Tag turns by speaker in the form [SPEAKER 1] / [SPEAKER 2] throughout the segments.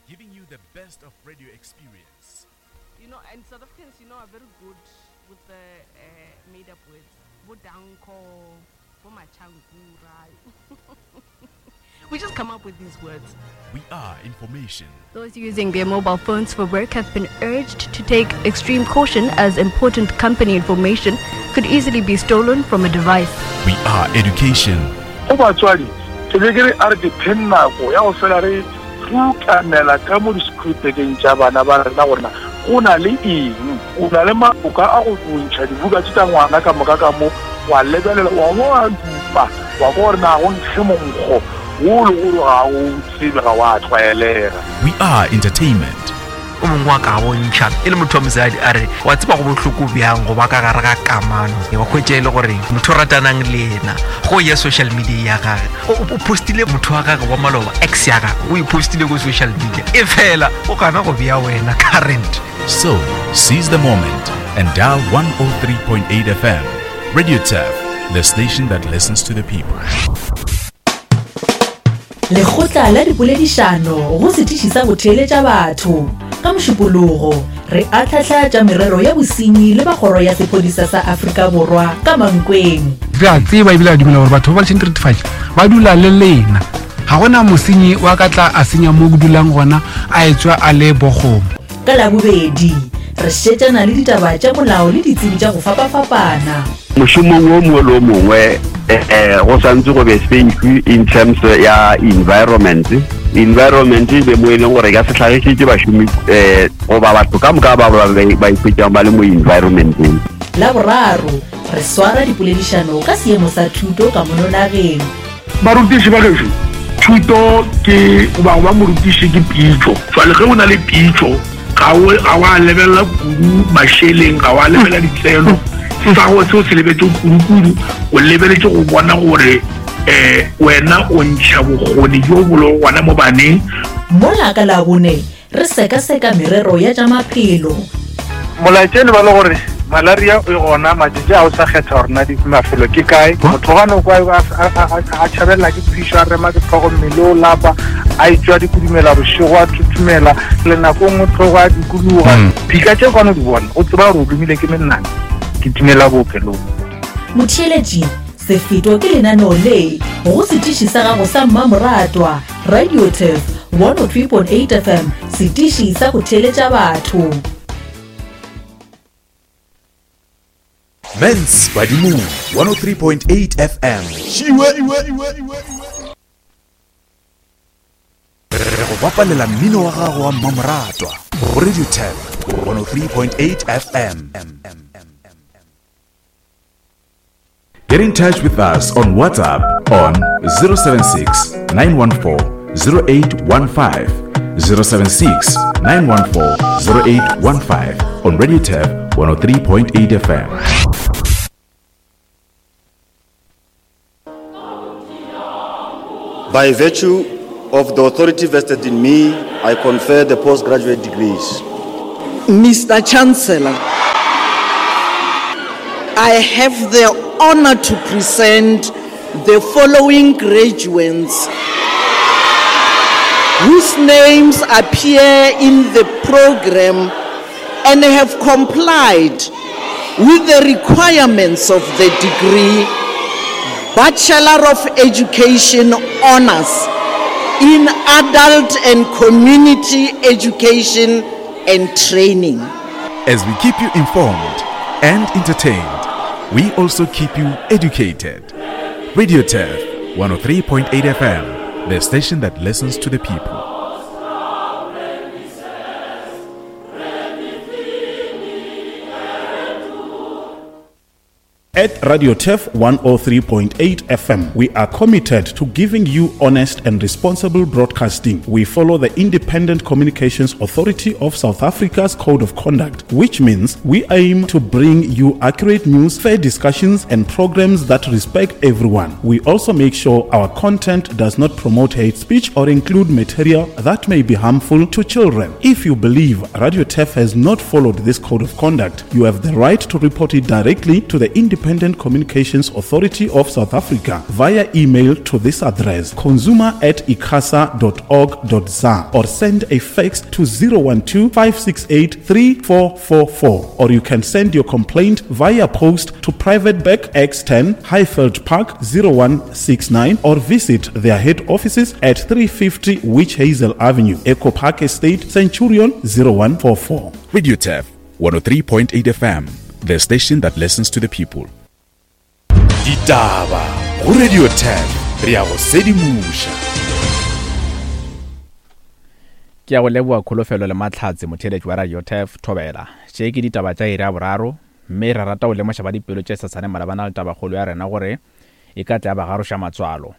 [SPEAKER 1] giving you the best of radio experience.
[SPEAKER 2] You know, and South Africans, you know, are very good with the uh, made up words. Bodanko, Bomachangura. we just come up with these words.
[SPEAKER 1] We are information.
[SPEAKER 3] Those using their mobile phones for work have been urged to take extreme caution as important company information could easily be stolen from a device.
[SPEAKER 1] We are education.
[SPEAKER 4] Go batswadi, ke be ke re a re dipheng nako ya go fela re rukanela ka mo di-schoolbageng tša bana ba rena gore na go na le eng. O na le maboka a go ntšha dibuka tše tša ngwana ka moka ka mo, wa lebelela, wa bo wa dupa, wa kwa gore na go nkge monkgo wo le gore ga o tsebe, ga wa tlwaelega.
[SPEAKER 1] We are entertainment.
[SPEAKER 5] O mongwe wa ka bontšha e le motho wa mosadi a re wa tseba go bohloko bjang go ba ka gare ga kamano wa hwetša e le gore motho o ratanang le yena go ya social media ya gage o postile motho wa gage wa maloba ex ya gage o e postile ko social media e fela o gana go bea wena current.
[SPEAKER 1] So, seize the moment and dial 103.8 FM. Radio Turf, the station that listens to the people.
[SPEAKER 6] Lekgotla la dipoledišano go setiši sa go theeletša batho. Ka Mošupologo, re ahlahla tša merero ya bosenyi le ba kgoro ya sephodisa sa Afrika Borwa ka Mankweng.
[SPEAKER 7] Re a tseba ebile a dumela gore batho ba ba lešeng diretefatši ba dula le lena. Ga go na mosenyi wa ka tla a senya mo ke dulang gona a etswa a le bokgomo.
[SPEAKER 6] Ka Labobedi, re šetšana le ditaba tša molao le ditsebi tša go fapafapana.
[SPEAKER 8] Mošomong wo mongwe le wo mongwe go santse go be safe in terms ya environment. Environment e be mo e leng gore e ka se hlagišetše bašomi goba batho ka moka ba ba ikhwetšang ba le mo environmenteng.
[SPEAKER 6] Laboraro, re swara dipoledišano ka seemo sa thuto ka mono nageng.
[SPEAKER 4] Barutiši ba gešo, thuto ke goba go ba morutiši ke pitšo. Jwale ge o na le pitšo, ga o ga wa lebelela kudu mašeleng, ga wa lebelela ditseno. Sa go se o se lebetše kudu-kudu, o lebeletše go bona gore um wena o ntšha bokgoni bjo bo lego gona mo baneng.
[SPEAKER 6] Mola ka Labone Re sekaseka merero ya tša maphelo.
[SPEAKER 9] Molaetša e le ba le gore malaria e gona matšatši a o sa kgetha gore na mafelo ke kae. Motho ga no kwa a tšhabelela ke phišo a rema ke tlhogo mmele o lapa a etšwa dikudumela bošego a thuthumela le nako nngwe tlhogo a dikologa. Dika tše kwane di bona o tseba gore o lomile ke menang ke timela bookelong.
[SPEAKER 6] Motheeletši, Sefeto ke lenaneo le go setiši sa gago sa mmamoratwa. Radio Turf 103.8 FM, setiši sa go theeletša batho.
[SPEAKER 1] Mens Badimong 103.8 FM. Re go bapalela mmino wa gago wa mmamoratwa go Radio Turf 103.8 FM. Get in touch with us on WhatsApp on 076 914 0815. 076 914 0815 on Radio Turf 103.8 FM.
[SPEAKER 10] By virtue of the authority vested in me, I confer the postgraduate degrees.
[SPEAKER 11] Mr. Chancellor, I have the honor to present the following graduates whose names appear in the program and have complied with the requirements of the degree Bachelor of Education Honors in Adult and Community Education and Training.
[SPEAKER 1] As we keep you informed and entertained, we also keep you educated. Radio Turf 103.8 FM, the station that listens to the people.
[SPEAKER 12] At Radio Turf 103.8 FM, we are committed to giving you honest and responsible broadcasting. We follow the Independent Communications Authority of South Africa's Code of Conduct, which means we aim to bring you accurate news, fair discussions, and programs that respect everyone. We also make sure our content does not promote hate speech or include material that may be harmful to children. If you believe Radio Turf has not followed this code of conduct, you have the right to report it directly to the Independent Independent Communications Authority of South Africa via email to this address consumer at icasa.org.za or send a fax to 012 568 3444 or you can send your complaint via post to Private Bank X10 Highveld Park 0169 or visit their head offices at 350 Witch Hazel Avenue, Echo Park Estate, Centurion 0144.
[SPEAKER 1] Radio Turf 103.8 FM, the station that listens to the people. Ditaba go Radio Turf re a go sedimoša.
[SPEAKER 13] Ke a go leboa Kholofelo le Mahlatse motheeletši wa Radio Turf Thobela. Tše ke ditaba tša iri ya boraro mme re rata go lemoša ba dipelo tše sesane malebana le tabakgolo ya rena gore e ka tla ya ba garoša matswalo.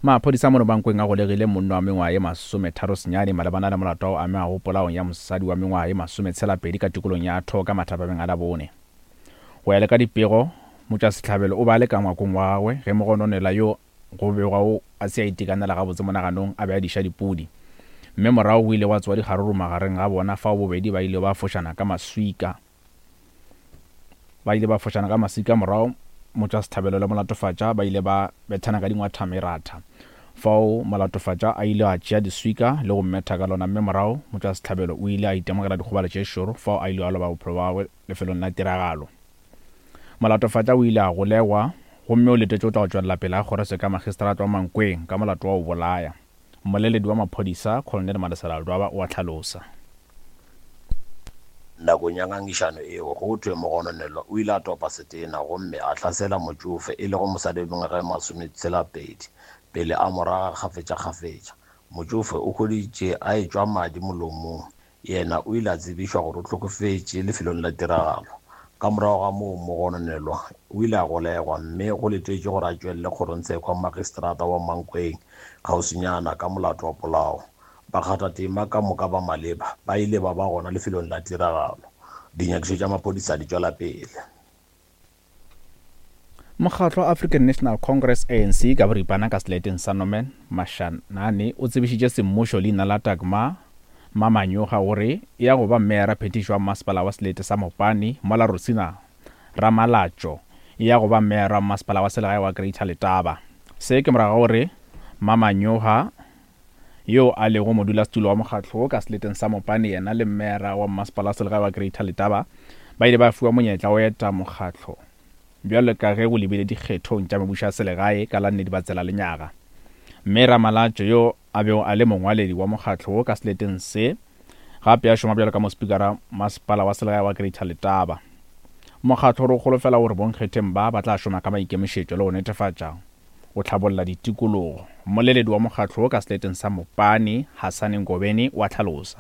[SPEAKER 13] Maphodisa mono Mankweng a golegile monna wa mengwaga ye masometharosenyane malebana le molato wa go amegago polaong ya mosadi wa mengwaga ye masometshelapedi ka tikolong ya Thoka mathapameng a Labone. Go ya le ka dipego, motšwasehlabelo o be a le ka ngwakong wa gagwe ge mogononelwa yo go begwago a se a itekanela gabotse monaganong a be a diša dipudi. Mme morago go ile gwa tsoga dikgaruru magareng ga bona fao bobedi ba ilego ba fošana ka maswika. Ba ile ba fošana ka maswika morago motšwasehlabelo le molatofatša ba ile ba bethana ka dingwatha meratha. Fao molatofatša a ile a tšea diswika le go mmetha ka lona mme morago motšwasehlabelo o ile a itemogela dikgobalo tše šoro fao a ilego a loba bophelo bja gagwe lefelong la tiragalo. Molatofatša o ile a golegwa gomme o letetše go tla go tšwelela pele ga kgorotsheko ya magistrata wa Mankweng ka molato wa go bolaya. Mmoleledi wa maphodisa, Colonel Malesela Ledwaba o a hlalosa.
[SPEAKER 14] Nakong ya ngangišano eo, go thwe mogononelwa o ile a topa setena gomme a hlasela motšofe, e lego mosadi wa mengwaga e masometshela-pedi, pele a mo raga kgafetšakgafetša. Motšofe o hweditše a etšwa madi molomong. Yena o ile a tsebišwa gore o hlokofetše lefelong la tiragalo. Ka morago ga moo, mogononelwa o ile a golegwa mme go letetšwe gore a tšwelele kgorongtsheko ya magistrata wa Mankweng kgauswinyana ka molato wa polao. Bakgathatema ka moka ba maleba ba ile ba ba gona lefelong la tiragalo. Dinyakišo tša maphodisa di tšwela pele.
[SPEAKER 13] Mokgatlo wa African National Congress, ANC, ka boripana ka seleteng sa Norman Mashanane o tsebišitše semmušo leina la Dagmar Mamanyoga gore e ya go ba meyara phethiši wa masepala wa selete sa Mopani mola Rosina Ramalatšo e ya go ba meyara wa masepala wa selegae wa Greater Letaba. Se ke morago ga gore Mamanyoga yo a lego modulasetulo wa mokgatlo wo ka seleteng sa Mopane yena le meyara wa mmasepala wa selegae wa Greater Letaba ba ile ba fiwa monyetla wa go eta mokgatlo bjalo ka ge go lebile dikgethong tša mebušo ya selegae ka la nne Dibatsela lenyaga. Mme Ramalatšo yo a bego a le mongwaledi wa mokgatlo wo ka seleteng se gape a šoma bjalo ka mospikara masepala wa selegae wa Greater Letaba. Mokgatlo o re o holofela gore bonkgetheng ba ba tla šoma ka maikemišetšo le go netefatša go hlabolla ditikologo. Mmoleledi wa mokgatlo wo ka seleteng sa Mopani, Hasani Ngobeni, o a hlalosa.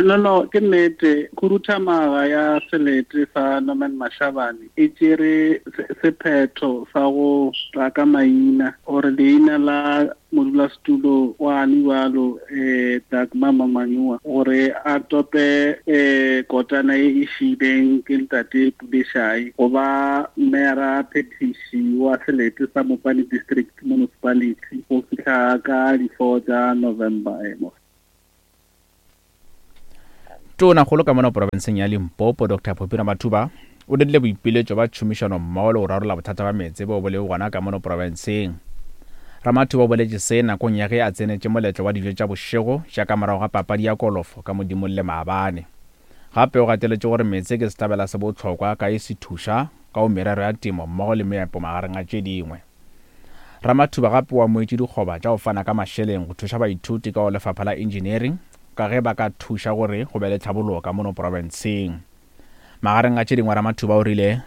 [SPEAKER 15] No, no, ke nnete. Khuduthamaga ya selete sa Norman Mashabane e tšere sephetho sa go tla ka maina gore leina la modulasetulo wa bjalo eh Dagmar Mamanyua gore a tope eh kotana ye e šiileng ke ntate Puleshai go ba meyara phethiši wa selete sa Mopani District Municipality go fihla ka di-4 tša November emo.
[SPEAKER 13] Tonakgolo ka mono porofenseng ya Limpopo Dr Phophi Ramathuba o dirile boipiletšo ba tšhomišano mmogo le go rarolla bothata ba meetse boo bo lego gona ka mono porofenseng. Ramathuba o boletše se nakong ya ge a tsenetše moletlo wa dijo tša bošego tša ka morago ga papadi ya kolofo ka Modimolle maabane. Gape o gateletše gore meetse ke sehlabela se bohlokwa ka e se thuša ka go merero ya temo mmogo le meepo magareng a tše dingwe. Ramathuba gape o amogetše dikgoba tša go fana ka mašeleng go thuša baithuti ka go lefapha la engineering ka ge ba ka thuša gore go be le tlhabologo ka mono profenseng. Magareng a tše dingwe Ramathuba o rile.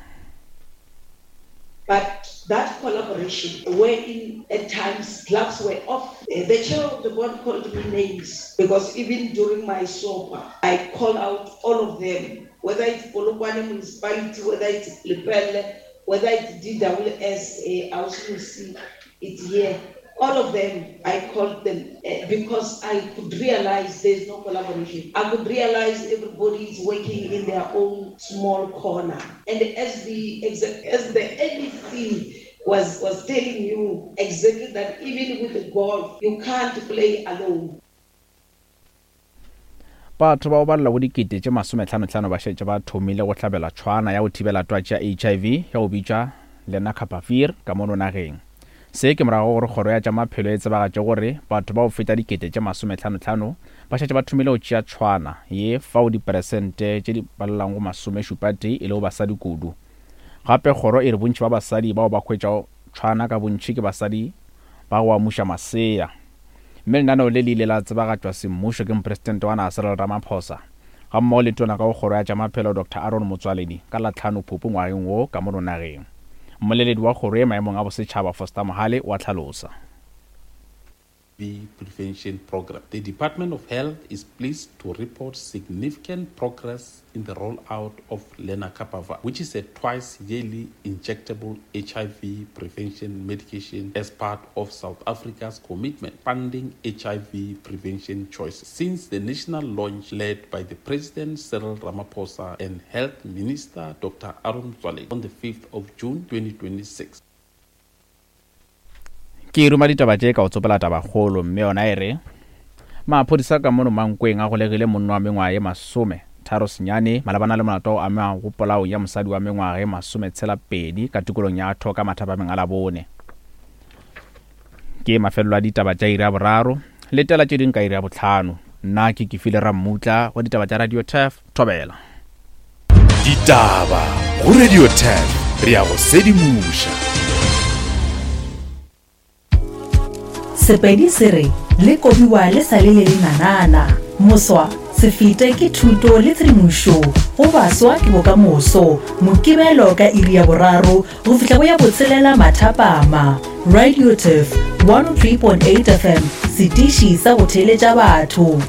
[SPEAKER 16] But that collaboration wherein at times gloves were off, the chair of the board called me names because even during my SOPA I called out all of them, whether it's Polokwane municipality, whether it's Lepelle, whether it's DWS, Ausi it's here. All of them, I called them because I could realize there's no collaboration. I could realize everybody is working in their own small corner. And as the as the NEC was, was telling you exactly that even with the golf, you can't play alone.
[SPEAKER 13] Batho ba go balelwa go dikete tše masomehlanohlano ba šetše ba thomile go hlabelwa tšhwana ya go thibela twatši ya HIV ya go bitšwa Lenacapavir ka mono nageng. Se ke morago ga gore kgoro ya tša maphelo e tsebagatše gore batho ba go feta dikete tše masomehlanohlano ba šetše ba thomile go tšea tšhwana ye fao diperesente tše di balelwago go masomešupatee e lego basadi kudu. Gape kgoro e re bontši ba basadi bao ba hwetšago tšhwana ka bontši ke basadi ba go amuša masea. Mme lenaneo le le ile la tsebagatšwa semmušo ke Mopresidente wa naga Cyril Ramaphosa gammogo le Tona ka go Kgoro ya tša Maphelo Doctor Aaron Motsoaledi ka la tlhano Phupu ngwageng wo ka mono nageng. Mmoleledi wa kgoro ye maemong a bosetšhaba Foster Mohale o a hlalosa.
[SPEAKER 12] Prevention Programme. The Department of Health is pleased to report significant progress in the rollout of Lenacapavir, which is a twice-yearly injectable HIV prevention medication as part of South Africa's commitment funding HIV prevention choices. Since the national launch led by the President Cyril Ramaphosa and Health Minister Dr. Aaron Motsoaledi on the 5th of June 2026.
[SPEAKER 13] Ke ruma ditaba tše ka go tsopela tabakgolo mme yona e re, Maphodisa ka mono Mankweng a golegile monna wa mengwaga ye masome tharo senyane malebana le molato wa go amega go polaong ya mosadi wa mengwaga ye masome tshela pedi ka tikolong ya Thoka mathapameng a Labone. Ke mafelelo a ditaba tša iri ya boraro, letela tše ding ka iri ya bohlano. Nna ke Kefile Rammutla wa ditaba tša Radio Turf, Thobela.
[SPEAKER 1] Ditaba go Radio 10 re a go sedimoša.
[SPEAKER 6] Sepedi se re le kobiwa le sa le le lenanana. Moswa, se fete ke thuto le tshedimošo go baswa ke bokamoso. Mokibelo ka iri ya boraro go fihla go ya botshelela mathapama. Radio Turf 103.8 FM, setiši sa go theeletša batho.